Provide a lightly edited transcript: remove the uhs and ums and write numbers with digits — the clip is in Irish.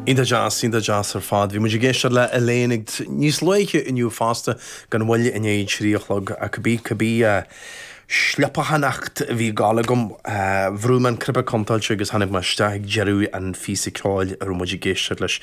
Iontach deas, iontach deas ar fad. Bhí muid ag éisteacht le Elaine ag níos luaithe inniu fosta, gan mhoill i ndiaidh a 3 a chlog, ach cibé, cibé sliopachánacht a bhí ag gabháil agam, bhrúigh mé an cnaipe contráilte agus tháinig mé isteach ag deireadh an phíosa ceoil a raibh muid ag éisteacht leis.